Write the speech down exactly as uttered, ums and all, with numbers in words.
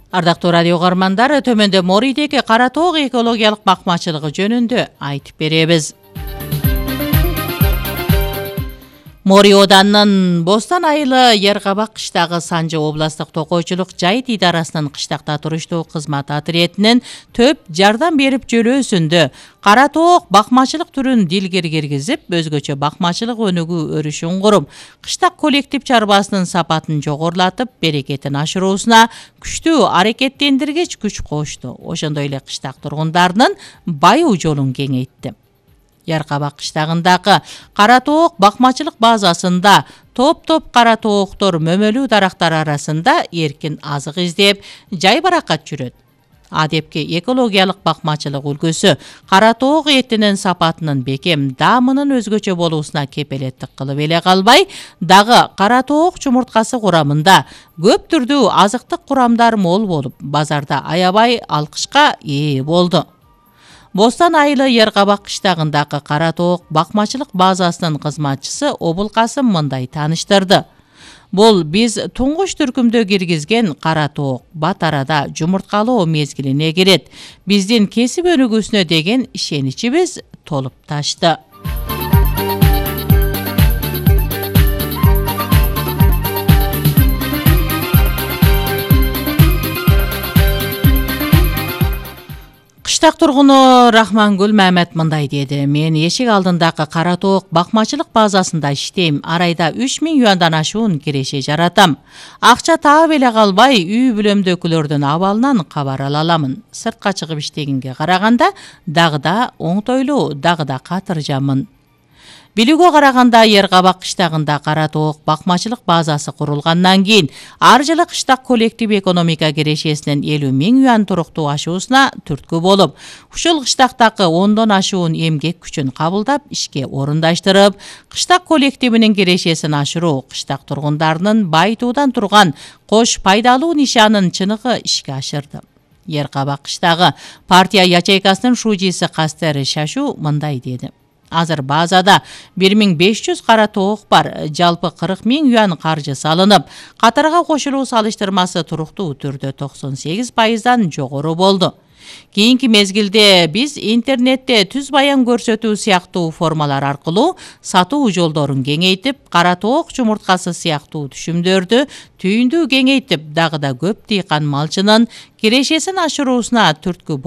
Ардактуу радио угармандар, төмөндө Морийдеги кара тоок экологиялык бакмачылыгы жөнүндө айтып беребиз. Морий Оданынын Бостон айылы Яркабак кыштагы Санжы областтык токойчулук жайыт идарасынын кыштакта туруштуу кызмат отрядынын төп жардам берип жөлөөсүндө кара тоок бакмачылык түрүн дилгер киргизип, өзгөчө бакмачылык өнүгүү өрүшүн куруп, кыштак коллектив чарбасынын сапатын жогорулатып, берекетин ашыруусуна күчтүү аракеттендиргич күч кошту. Ошондой эле кыштак тургундарынын байуу жолун кеңейтти. Яркабак кыштагындагы кара тоок бакмачылык базасында топ-топ кара тооктор мөмөлүү дарактар арасында эркин азык издеп, жайбаракат жүрөт. Адепки экологиялык бакмачылык үлгүсү кара тоок этинин сапатынын бекем, даамынын өзгөчө болуусуна кепелеттик кылып эле калбай, дагы кара тоок чумурткасы курамында көп түрдүү азыктык курамдар мол болуп, базарда аябай алкычка ээ болду. Бостон айылы Яркабак кыштагындагы кара тоок бакмачылык базасынын кызматчысы Обулкасым мындай тааныштырды. Бул биз туңгуч түркүмдө киргизген кара тоок бат арада жумурткалоо мезгилине кирет. Биздин кесип өнүгүүсүнө деген ишеничибиз толуп ташты. Кыштак тургуну Рахмангүл Мамет мындай деди: "Мен эшик алдындагы кара тоок бакмачылык базасында иштейм. Ар айда үч миң юандан ашуун киреше жаратам. Акча таап эле калбай, үй бүлөмдөгүлөрдүн абалынан кабар ала аламын. Сыртка чыгып иштегенге караганда дагы да оңтойлуу, дагы да катыржамын." Билүүгө караганда, Яркабак кыштагында кара тоок бакмачылык базасы курулгандан кийин ар жылы кыштак коллектив экономика кирешесинин элүү миң юан туруктуу ашуусуна түрткү болуп, ушул кыштактагы ондон ашуун эмгек күчүн кабылдап, ишке орундаштырып, кыштак коллективинин кирешесин ашыруу, кыштак тургундарынын байытуудан турган кош пайдалуу нишанын чыныгы ишке ашырды. Яркабак кыштагы партия ячейкасынын шужиси Кастер Шашу мындай деди: "Азыр базада бир миң беш жүз кара тоок бар, жалпы кырк миң юан каржы салынып, катарга кошулуу салыштырмасы туруктуу түрдө токсон сегиз пайыздан жогору болду. Кийинки мезгилде биз интернетте түз баян көрсөтүү сыяктуу формалар аркылуу сатуу жолдорун кеңейтип, кара тоок чумурткасы сыяктуу түшүмдөрдү түйүндүү кеңейтип, дагы да көп дыйкан малчынын кирешесин ашыруусуна түрткү